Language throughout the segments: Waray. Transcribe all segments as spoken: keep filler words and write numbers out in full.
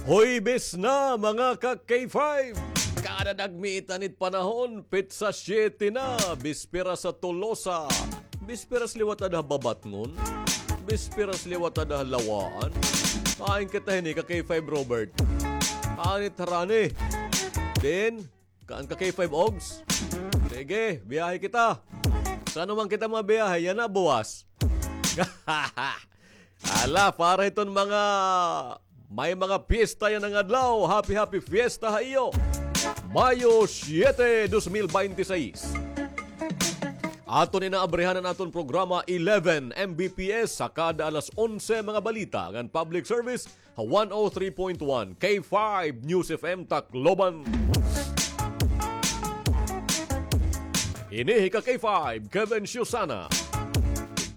Huwebes na, mga ka-K five! Kada nagmiitan it panahon, petsa siyete na, bisperas ha Tolosa. Bisperas liwat ada ha Babatngon. Bisperas liwat ada ha Lawaan. Hain kita hini, ka-K five Robert? Hain it harani? Then, kaan ka-K five Ogs? Sige, biyahe kita. San-o man kita mabiyahe, yana buwas. Hala, para hiton mga may mga piyesta yana nga adlaw, happy, happy fiesta ha iyo. Mayo siyete, dos mil baynte sais. Aton inaabrihan an aton programa eleven M B P S ha kada alas onse, mga balita ngan public service ha one oh three point one K five News F M Tacloban. Ini hi ka-K five, Kevin Siusana.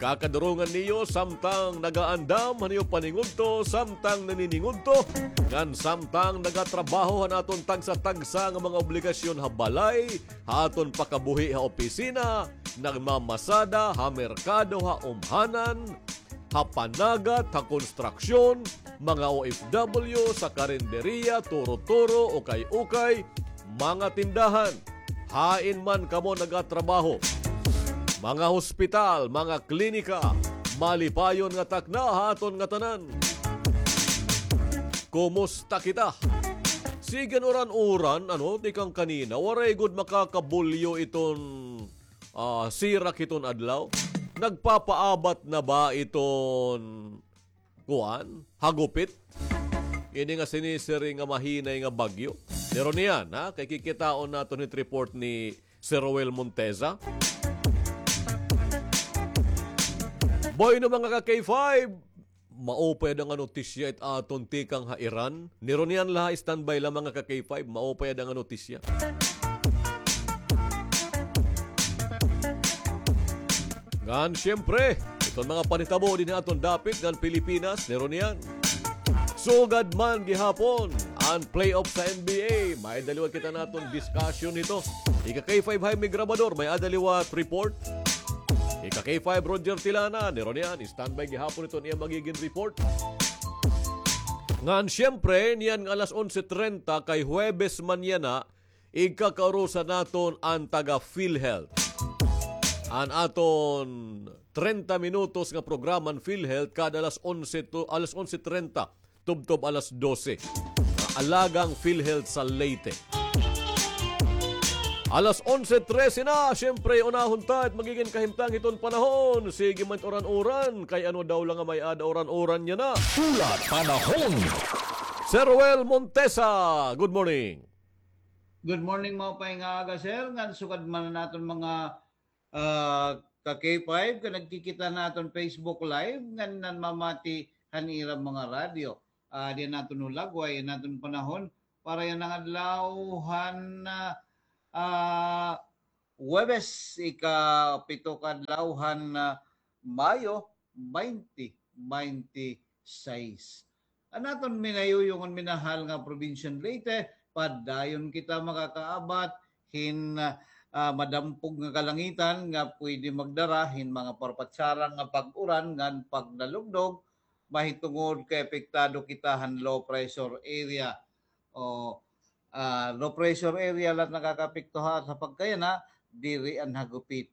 Kakadurongan niyo samtang nagaandam han iyo paningudto, samtang naniningudto, ngan samtang nagatrabaho han aton tagsa-tagsa nga mga obligasyon ha balay, ha aton pakabuhi ha opisina, nagmamasada ha merkado, ha umhanan, ha panagat, ha konstruksyon, mga O F W, sa karinderiya, turo-turo, ukay-ukay, mga tindahan, hain man kamo nagatrabaho, mga hospital, mga klinika, malipayon nga takna ha aton ngatanan. Kumusta kita? Sige an uran-uran, ano, tikang kanina, waray gud makakabulyo iton ah, sirak hiton adlaw. Nagpapaabat na ba iton, kuan, hagupit? Ini nga sinisiring nga mahinay nga bagyo. Pero niyan, ha? Kay kikitaon naton hit report ni Sir Roel Monteza. Bueno, mga ka-K five, maupay ada nga notisya it aton tikang ha Iran. Niro niyan la, standby la, mga ka-K five, maupay ada nga notisya. Ngan siyempre, iton mga panhitabo dinhi ha aton dapit ngan Pilipinas, niro niyan. Sugad man gihapon an playoff sa N B A, may-ada liwat kita naton discussion hito. Ika-K five Jaime Grabador, may-ada liwat report. Ika-K five Roger Tilana, niro niyan, standby gihapon iton iya magigin report. Ngan siyempre, niyan nga alas onse trenta kay Huwebes man yana, igkakaurusan naton an taga PhilHealth. An aton trenta minutos nga programa an PhilHealth kada alas onse to, alas onse trenta. Tubtob alas dose. Alagang PhilHealth sa Leyte. Alas onse trese na, siyempre, unahon ta it magigin kahimtang hiton panahon. Sige man it uran-uran, kay ano daw la nga may-ada uran-uran yana. Hulat panahon. Sir Roel Montesa, good morning. Good morning, maupay nga aga, sir. Ngan sugad man an aton mga ah, ka-K five, kon nagkikita han aton Facebook Live, ngan nanmamati han ira mga radyo. Ah, diri naton hulagway an aton panahon para yana nga adlaw han, ah, ah, Huwebes, ikapito ka adlaw han, ah, Mayo, baynte baynte sais. An aton minayuyong ngan minahal nga Provincial Leyte, padayon kita makakaabat hin, ah, madampog nga kalangitan nga pwede magdara hin mga parpatsarang nga pag-uran ngan pagdalugdog, mahitungod kay apektado kita han low pressure area. O, ah, low pressure area la it nakakaapekto ha, sa pagkayana, diri an hagupit.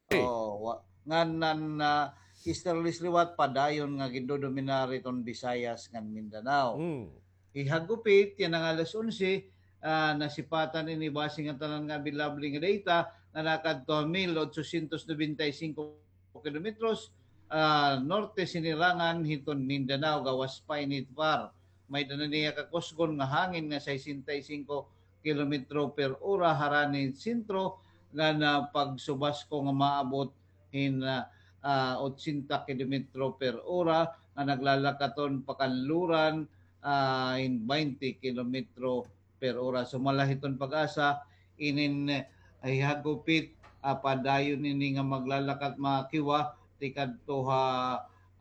Eh. O, wa-, ngan an, ah, easterlies liwat padayon nga gindodominar hiton Visayas ngan Mindanao. Hmm. Hihagupit yana nga alas onse, ah, nasipatan ini base nga tanan nga available nga data nga nakadto ha mil otsosyentos nobenta y singko kilometros, ah, norte sinirangan hiton Mindanao, gawas pa ini par. May-ada na niya kakusgon nga hangin nga sesenta y singko kilometro per ora harani sentro, ngan pagsubasko nga maabot hin, ah, ah, otsenta kilometro per ora, nga naglalakaton pakanluran, ah, hin baynte kilometro per ora. Sumala hiton PAGASA, inin, ah, hihagupit, ah, padayon ini nga maglalakat makiwa tikadto ha,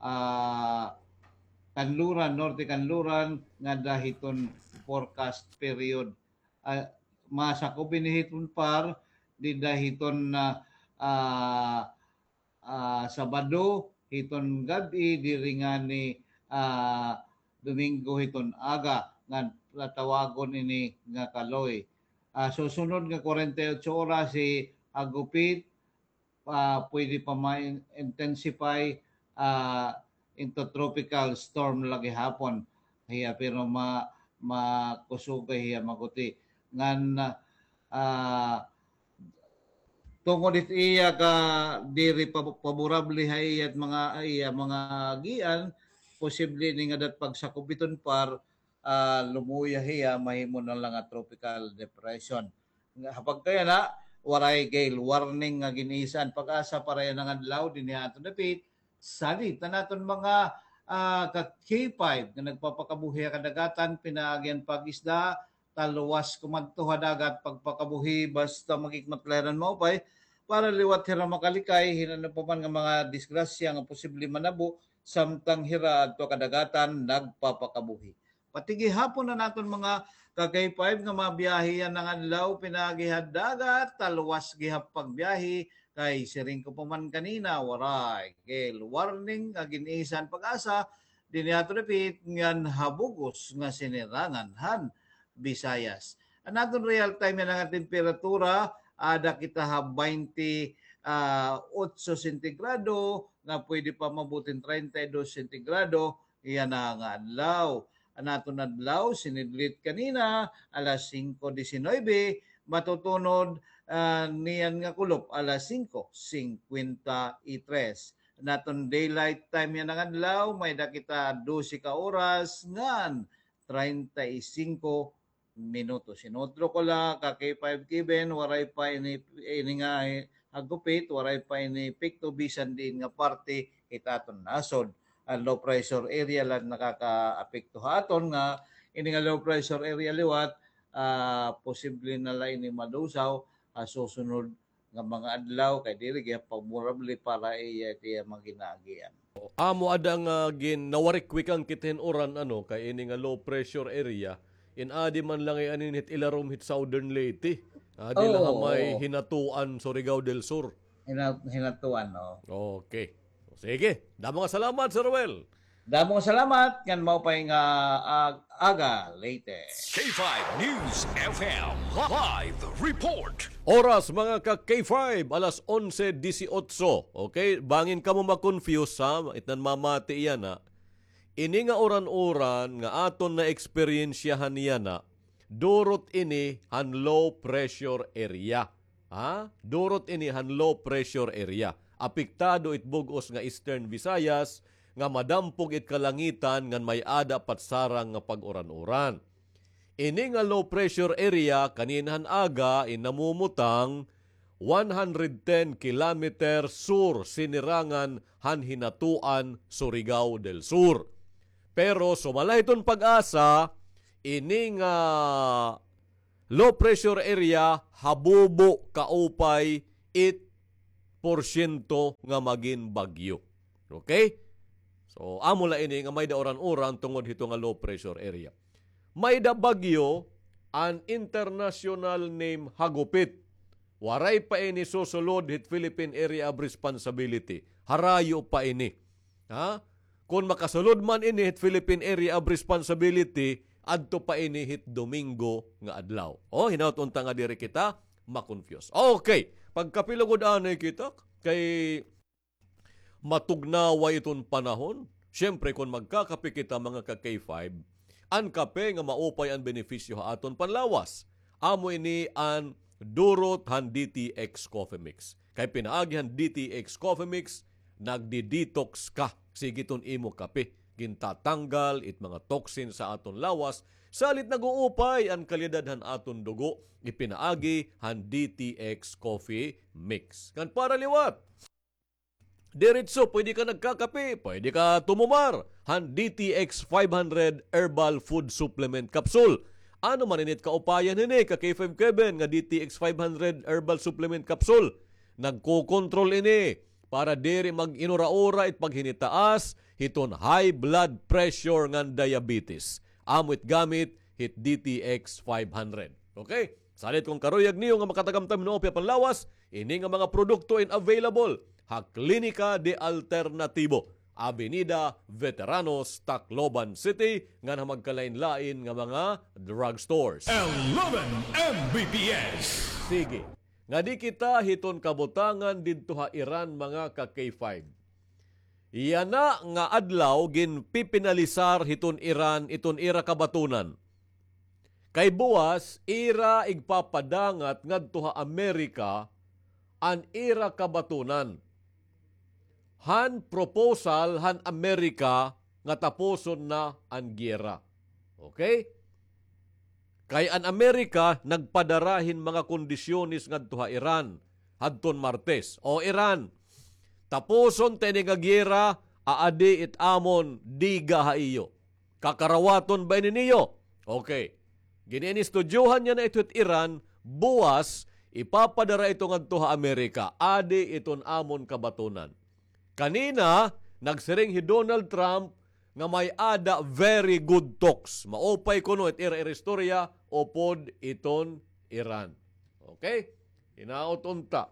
ah, kanluran, norte kanluran, ngada hiton forecast period. Ah, masakop ini hiton par, dida hiton, ah, ah, ah, Sabado hiton gab-i, diri ngani, ah, Domingo hiton aga. nga tawagon ini nga kaloy. Ah, susunod nga kwarenta y otso oras, hi Hagupit, ah, pwede pa ma-intensify, ah, into tropical storm la gihapon hiya, pero ma-, makusogay hiya, maguti. Ngan, ah, tungod it iya ka diri pa-, paborable ha iya mga, iya mga agian, posible ini nga dat pagsakob hiton par, ah, lumuya hiya, mahimo na la nga tropical depression. Nga, ha pagkayana, waray gale warning nga gin-isa an PAGASA para yana nga adlaw dinhi ha aton dapit. Salit an aton mga, ah, ka K five nga nagpapakabuhi ha kadagatan, pinaagi an pag-isda, talwas kumadto ha dagat, pagpakabuhi, basta mag-ikmat la hira hin maupay, para liwat hira makalikay hin ano pa man nga mga disgrasya nga posible manabo, samtang hira adto ha kadagatan nagpapakabuhi. Pati gihapon an aton mga ka K five nga mabiyahe yana nga adlaw, pinaagi ha dagat, talwas gihap pagbiyahe, kay siring ko pa man kanina, waray gale warning nga gin-isa an PAGASA dinhi ha aton dapit ngan ha bug-os nga sinirangan han Visayas. An aton real time yana nga temperatura, ada kita ha baynte, ah, otso sentigrado, nga pwede pa maabot hin treinta y dos sentigrado yana nga adlaw. An aton adlaw, sinidlit kanina, alas singko disinuybe, matutunod, ah, niyan nga kulop, alas singko singkwenta y tres. An aton daylight time yana nga adlaw, may-ada kita dose ka oras ngan treinta y singko minutos. Inutro ko la, ka K five Kevin, waray pa ini, ini nga, eh, hagupit, waray pa ini epekto bisan diin nga parte hit aton nasod. An low pressure area la nakakaapekto ha aton nga, ini nga low pressure area liwat, ah, posible na la ini madusaw ha susunod nga mga adlaw, kay diri gihap favorable para iya, iya mga ginaagian. Amo ada nga gin-, nawarikwikan kita hin uran, ano, kay ini nga low pressure area, in adi man la ngay-an ini hit ilarom hit Southern Leyte. Adi la ha may Hinatuan, Surigao del Sur. Hina-, Hinatuan, oo. Okay. Sige. Damo nga salamat, Sir Ruel. Damo nga salamat, ngan maupay nga ag-, aga, Leyte. K five News F M live report. Oras, mga ka K five, alas onse disiotso. Okay? Bangin kamo ma-confuse, ha? It nanmamati yana. Ini nga uran-uran nga aton naeksperyensyahan yana, durot ini han low pressure area. Ha? Durot ini han low pressure area. Apektado it bug-os nga Eastern Visayas, nga madampog it kalangitan ngan may-ada patsarang nga pag-uran-uran. Ini nga low pressure area kanina han aga in namumutang one hundred ten kilometer sur sinirangan han Hinatuan, Surigao del Sur. Pero sumala hiton PAGASA, ini nga low pressure area, habubo kaupay it porsyento nga magin bagyo. Okay? So, amo la ini nga may-ada uran-uran tungod hito nga low pressure area. May-ada bagyo an international name Hagupit. Waray pa ini susulod hit Philippine Area of Responsibility. Harayo pa ini. Ha? Kon makasulod man ini hit Philippine Area of Responsibility, adto pa ini hit Domingo nga adlaw. O, hinaut unta nga diri kita ma-confuse. Okay, pagkape lugod anay kita, kay matugnaway iton panahon. Siyempre, kon magkakape kita, mga ka K five, an kape nga maupay an benepisyo ha aton panlawas. Amo ini an durot han D T X Coffee Mix. Kay pinaagi han D T X Coffee Mix, nagdi-detox ka. Sige iton imo kape. Gintatanggal it mga toxin sa aton lawas. Salit nag-uupay an kalidad han aton dugo. Ipinaagi han D T X Coffee Mix. Kan para liwat. Diretso, pwede ka nagkakape, pwede ka tumumar han D T X five hundred Herbal Food Supplement Capsule. Ano man ini it kaupayan hini, ka K five Kevin, nga D T X five hundred Herbal Supplement Capsule? Nagkokontrol ini para diri mag-inura-ura it paghinitaas hiton high blood pressure ngan diabetes. Amo it gamit hit D T X five hundred. Okay? Salit kon karuyag niyo nga makatagamtam hin maupay nga panlawas, ini nga mga produkto in available ha Klinika de Alternatibo. Avenida Veteranos, Tacloban City, ngan ha magkalain-lain nga mga drugstores. Eleven M B P S. Sige. Ngadi kita hiton kabutangan didto ha Iran, mga ka-K five. Yana nga adlaw ginpipinalisar hiton Iran iton ira kabatunan. Kay buwas, ira igpapadangat ngadto ha Amerika an ira kabatunan. Han proposal han Amerika nga tapuson na an giyera. Okay? Kay an Amerika nagpadara hin mga kondisyones ngadto ha Iran hadton Martes. O Iran, tapuson ta ini nga giyera, aadi it amon diga ha iyo. Kakarawaton ba ini niyo? Okay. Gin-inistudyohan niya na ito it Iran, buwas, ipapadara ito ngadto ha Amerika. Adi iton amon kabatunan. Kanina, nagsiring hi Donald Trump nga may-ada very good talks. Maupay kuno it ira-ira istorya upod iton Iran. Okay? Hinaot unta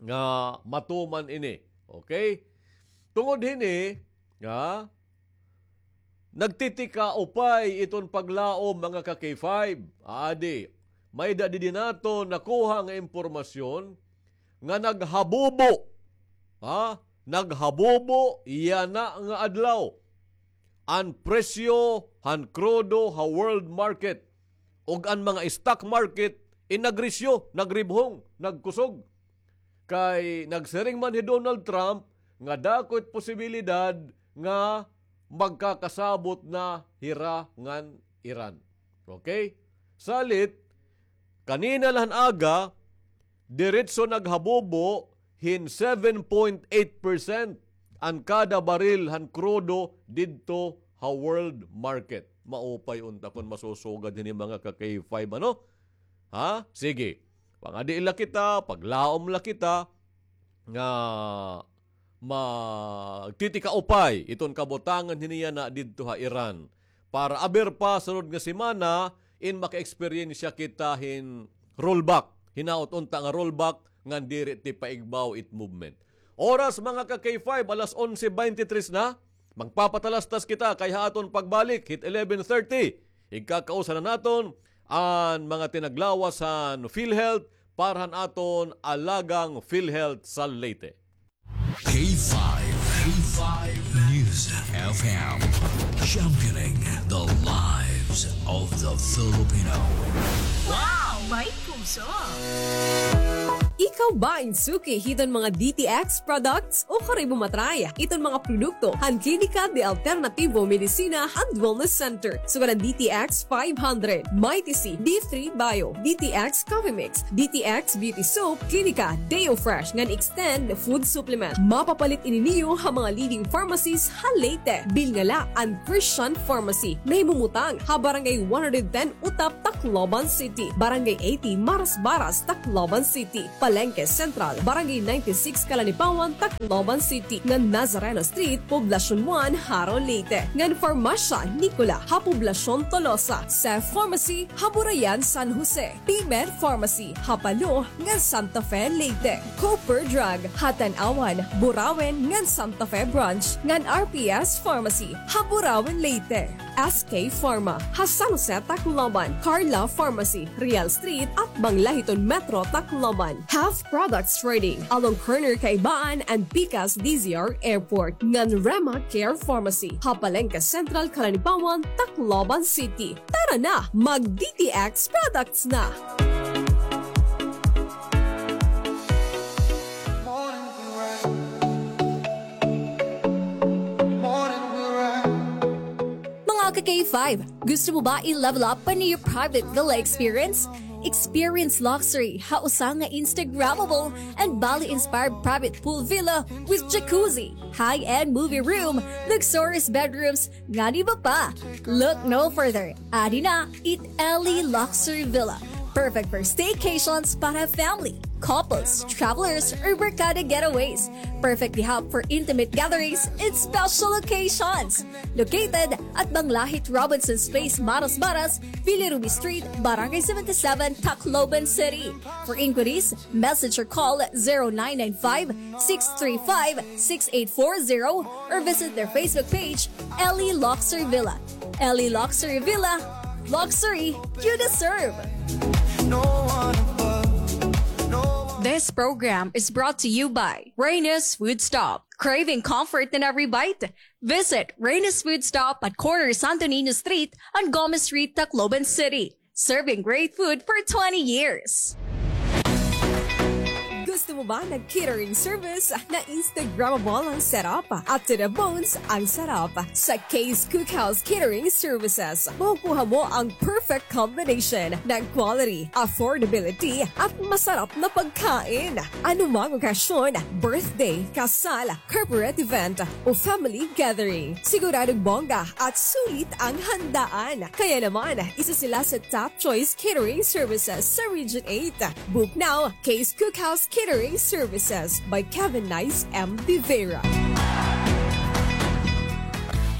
nga matuman ini. Okay? Tungod hini, nga nagtitikaupay iton paglaom, mga ka-K five. Adi, may-ada didi naton nakuha nga impormasyon nga naghabubo, ha? Naghabubo yana nga adlaw an presyo han krudo ha world market, ug an mga stock market in nagrisyo, nagribhong, nagkusog. Kay nagsiring man hi Donald Trump nga dako it posibilidad nga magkakasabot na hira ngan Iran. Okay? Salit, kanina la han aga, diretso naghabubo hin seven point eight percent an kada baril han krudo didto ha world market. Maupay unta kon masusugad hini, mga ka-K five, ano? Ha? Sige. Pangadi la kita, paglaom la kita, nga magtitikaupay iton kabutangan hini yana didto ha Iran. Para aber pa sunod nga semana, in maka-eksperyensya kita hin rollback. Hinaot unta nga rollback, ngan diri ti paigbaw it movement. Oras, mga ka-K five, alas onse bente tres na. Magpapatalastas kita kay ha aton pagbalik, hit eleven thirty, igkakausa na naton an mga tinaglawas han PhilHealth para han aton alagang PhilHealth sa Leyte. K five, K five News F M, championing the lives of the Filipino. Wow! May puso! Ikaw ba in suki hiton mga D T X products? O karibo matry iton mga produkto han Klinika de Alternativo Medicina and Wellness Center, sugad han D T X five hundred, Mighty C, D three Bio, D T X Coffee Mix, D T X Beauty Soap, Klinika Deo Fresh ngan Extend Food Supplement. Mapapalit ini niyo ha mga leading pharmacies ha Leyte. Bilngala an Christian Pharmacy, nahimumutang ha Barangay one hundred ten Utap, Tacloban City, Barangay eighty Marasbaras, Tacloban City, Palengke Central, Barangay ninety-six Calanipawan, Tacloban City, ngan Nazareno Street, Poblacion one, Jaro, Leyte, ngan Farmasya Nicola ha Poblacion Tolosa, Sef Pharmacy ha Burayan, San Jose, Timer Pharmacy ha Palo ngan Santa Fe, Leyte, Cooper Drug ha Tanauan, Burauen ngan Santa Fe Branch, ngan R P S Pharmacy ha Burauen, Leyte. S K Pharma ha San Jose, Tacloban, Carla Pharmacy, Real Street, atbang la hiton Metro Tacloban, Half Products Trading, along corner Kaibaan and Pikas D Z R Airport, ngan Rema Care Pharmacy ha Palengke Central, Calanipawan, Tacloban City. Tara na, mag D T X products na! Mga ka-K five, gusto mo ba i-level up pa niyo private villa experience? Experience luxury ha usa nga Instagrammable and Bali-inspired private pool villa with jacuzzi, high-end movie room, luxurious bedrooms, ngan iba pa. Look no further. Adi na it Ellie Luxury Villa. Perfect for staycations para family, couples, travelers, or barkada getaways. Perfect gihap for intimate gatherings and special occasions. Located at Manglahit Robinson's Place, Maras Maras, Billy Ruby Street, Barangay seventy-seven, Tacloban City. For inquiries, message or call zero nine nine five, six three five, six eight four zero or visit their Facebook page, Ellie Luxury Villa. Ellie Luxury Villa, luxury you deserve. This program is brought to you by Reyna's Food Stop. Craving comfort in every bite? Visit Reyna's Food Stop at corner Santo Niño Street and Gomez Street, Tacloban City. Serving great food for twenty years. Gusto mo ba ng catering service na Instagrammable ang setup at to the bones ang sarap? Sa Kay's Cookhouse Catering Services, makukuha mo ang perfect combination ng quality, affordability at masarap na pagkain. Anumang okasyon, birthday, kasal, corporate event o family gathering, siguradong bongga at sulit ang handaan. Kaya naman, isa sila sa top choice catering services sa Region eight. Book now, Kay's Cookhouse Catering Services by Kevin Nice M. De Vera.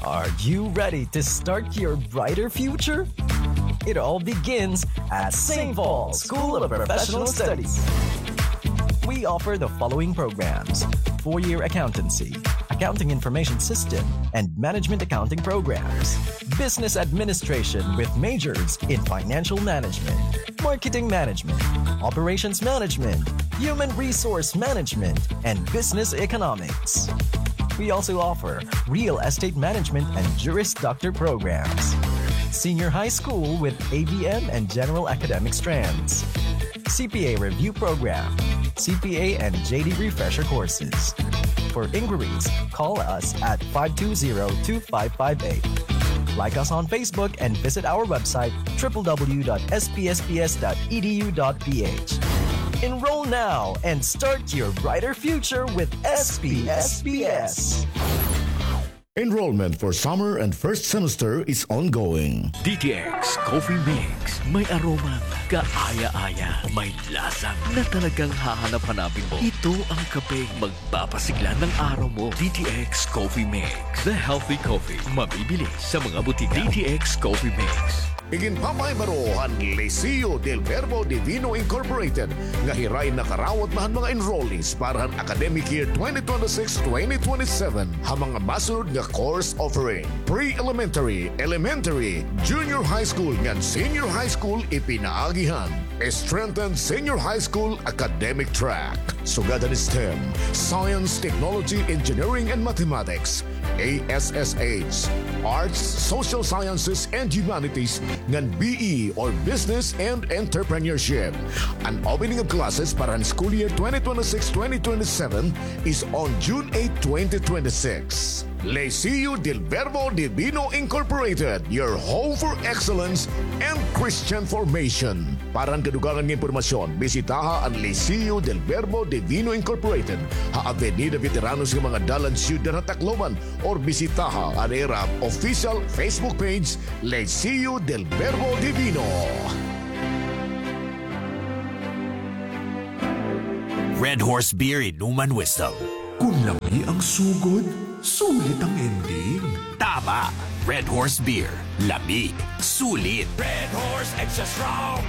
Are you ready to start your brighter future? It all begins at Saint Paul School of Professional Studies. We offer the following programs: four-year accountancy, accounting information system, and management accounting programs, business administration with majors in financial management, marketing management, operations management, human resource management, and business economics. We also offer real estate management and Juris Doctor programs, senior high school with A B M and general academic strands, C P A review program, C P A and J D refresher courses. For inquiries, call us at five two zero two five five eight. Like us on Facebook and visit our website, triple w dot s p s p s dot e d u dot p h. Enroll now and start your brighter future with S P S P S. Enrollment for summer and first semester is ongoing. D T X Coffee Mix. May aromang kaaya-aya. May lasa na talagang hahanap-hanapin mo. Ito ang kapeng magpapasigla ng araw mo. D T X Coffee Mix. The healthy coffee. Mabibili sa mga butika. D T X Coffee Mix. Iginpapahibaruhan Liceo del Verbo Divino Incorporated nga hira in nakarawat na han mga enrollees para han academic year twenty twenty-six twenty twenty-seven ha mga masunod nga course offering: pre-elementary, elementary, junior high school ngan senior high school ipinaagi han strengthened senior high school academic track. Sugad han STEM, Science, Technology, Engineering, and Mathematics, A S S H, Arts, Social Sciences, and Humanities, ngan B E or Business and Entrepreneurship. An opening of classes para han school year twenty twenty-six twenty twenty-seven is on June eight, twenty twenty-six. Liceo del Verbo Divino Incorporated, your home for excellence and Christian formation. Para han kadugangan nga impormasyon, bisitaha an Liceo del Verbo Divino Incorporated ha Avenida Veteranos nga mga dalan, Siyudad ha Tacloban, or bisitaha an ira official Facebook page, Liceo del Verbo Divino. Red Horse Beer Inuman Whistle. Kun lami ang sugod, sulit ang ending. Tama! Red Horse Beer. Lami. Sulit. Red Horse Extra Strong,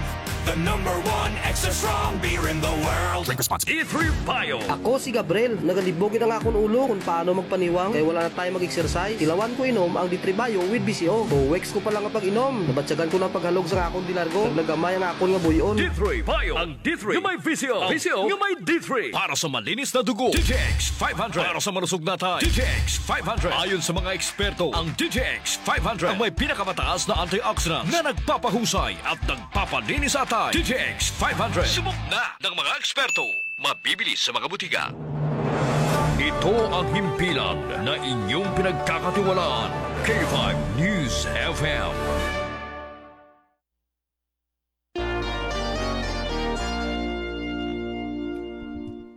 the number one extra strong beer in the world. Drink responsibly. D three Bio. Ako si Gabriel. Nagalibog it ang akon ulo kun paano magpaniwang kay wala na time mag-exercise. Tilawan ko inom ang D three Bio with V C O. Two weeks ko pa lang nga pag-inom, nabatyagan ko na an paghalog sa akon dilargo. Naglagamay ang akon nga buy-on. D three Bio. Ang D three nga may V C O. Ang V C O nga may D three. Para sa malinis na dugo, D T X five hundred. Para sa malusog na atay, D T X five hundred. Ayon sa mga eksperto, ang D T X five hundred ang may pinakamataas na antioxidants na nagpapahusay at nagpapalinis sa atay. D T X five hundred. Subok na ng mga eksperto. Mabibili sa mga butika. Ito ang himpilan na inyong pinagkakatiwalaan. K five News F M.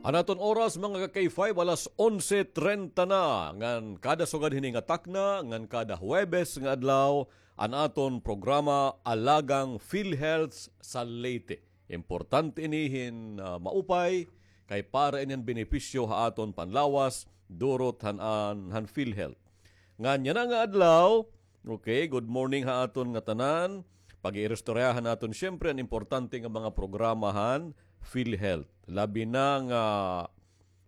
An aton oras, mga ka-K five, alas onse treinta na. Ngan kada sugad hini nga takna, ngan kada Huwebes nga adlaw, an aton programa Alagang PhilHealth sa Leyte. Importante ini hin, ah, maupay, kay para ini han benepisyo ha aton panlawas, durot han, an, han PhilHealth. Ngan yana nga adlaw, okay, good morning ha aton ngatanan. Pag-iiristoryahan naton, siyempre, an importante nga mga programa han PhilHealth. Labi na nga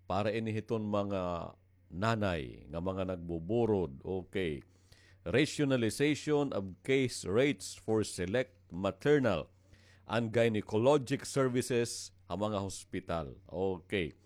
para ini hiton mga nanay nga mga nagbuburod. Okay. Rationalization of case rates for select maternal and gynecologic services ha mga hospital. Okay.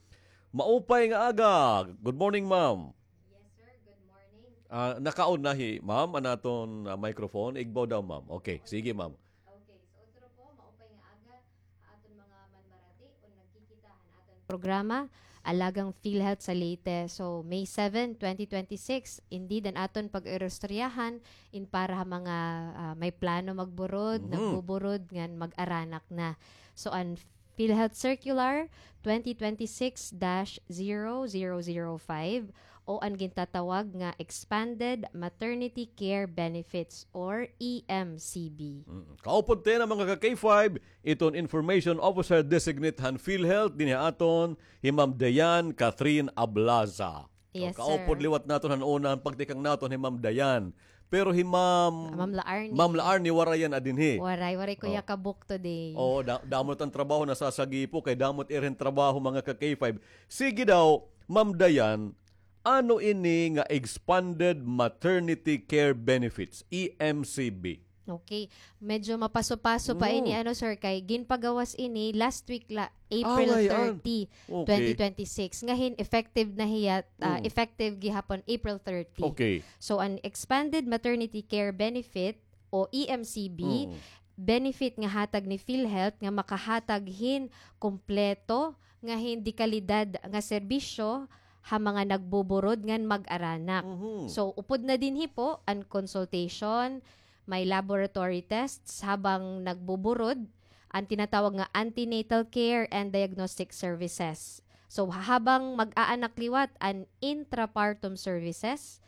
Maupay nga aga. Good morning, ma'am. Yes, sir. Good morning. Ah, nakaon na hi ma'am an aton, ah, microphone. Igbaw daw, ma'am. Okay, sige, ma'am. Okay, so otro po, maupay nga aga ha aton mga manmarati o nagkikita han aton programa, Alagang PhilHealth sa Leyte. So, May seven, twenty twenty-six, indeed, an aton pag-iristoryahan in para ha mga, ah, may plano magburod, Mhm. nagbuburod, ngan mag-aranak na. So, an PhilHealth Circular twenty twenty-six dash zero zero zero five o an gintatawag nga Expanded Maternity Care Benefits or E M C B. Mm. Kaupod ta yana, mga ka-K five, iton Information Officer Designate han PhilHealth dinhi ha aton, hi Ma'am Diane Catherine Ablaza. Yes, kaupod sir. Liwat naton han una, an pagtikang naton hi Ma'am Diane. Pero hi Ma'am Ma'am Laarni. Ma'am Laarni, waray yana dinhi. Waray, waray ko Oh. iya kabuok today. Oo, da-, damo it an trabaho nasasagipo, kay damo it ira hin trabaho, mga ka-K five. Sige daw, Ma'am Diane, ano ini nga expanded maternity care benefits, E M C B? Okay. Medyo mapaso-paso pa ini, ano, sir, kay ginpagawas ini last week la, April thirty, twenty twenty-six. Ngahin, effective na hiya, ah, effective gihapon April thirty. Okay. So, an expanded maternity care benefit o E M C B, benefit nga hatag ni PhilHealth nga makahatag hin kompleto nga hin dekalidad nga serbisyo ha mga nagbuburod ngan mag-aranak. Mhm. So, upod na dinhi po an consultation, may laboratory tests habang nagbuburod, an tinatawag nga antenatal care and diagnostic services. So, habang mag-aanak liwat, an intrapartum services,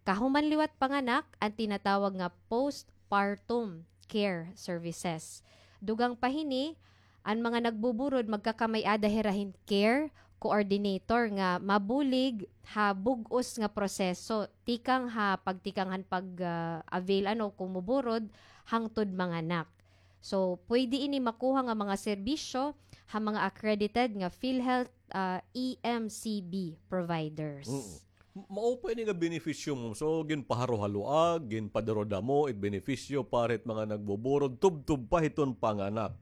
kahuman liwat panganak, an tinatawag nga postpartum care services. Dugang pa hini, an mga nagbuburod magkakamay-ada hira hin care coordinator nga mabulig ha bug-os nga proseso, tikang ha pagtikang han pag, ah, avail, ano, kumuburod hangtod manganak. So, pwede ini makuha nga mga serbisyo ha mga accredited nga PhilHealth, ah, E M C B providers. Mm. M-, mao pa ini nga benepisyo mo. So, ginpaharo-haloag, ginpadaro-damo it benepisyo para hit mga nagbuburod, tubtob pa hiton panganak.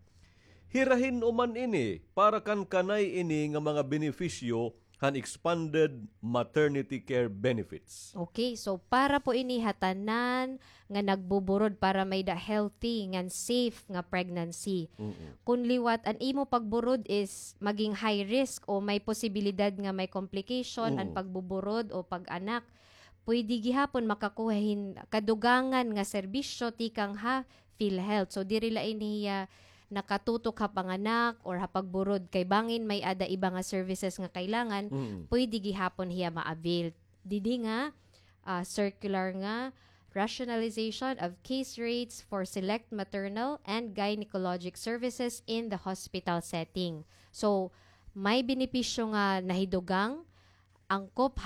Hira hin-o man ini, para kan kanay ini nga mga benepisyo han expanded maternity care benefits. Okay, so para po ini ha tanan nga nagbuburod para may-ada healthy ngan safe nga pregnancy. Mm-mm. Kun liwat an imo pagburod is maging high risk o may posibilidad nga may complication an pagbuburod o pag-anak, pwede gihapon makakuha hin kadugangan nga serbisyo tikang ha PhilHealth. So, diri la ini hiya nakatutok ha panganak or ha pagburod, kay bangin may-ada iba nga services nga kailangan, pwede gihapon hiya ma-avail. Didi nga, ah, circular nga rationalization of case rates for select maternal and gynecologic services in the hospital setting. So, may benepisyo nga nahidugang, angkop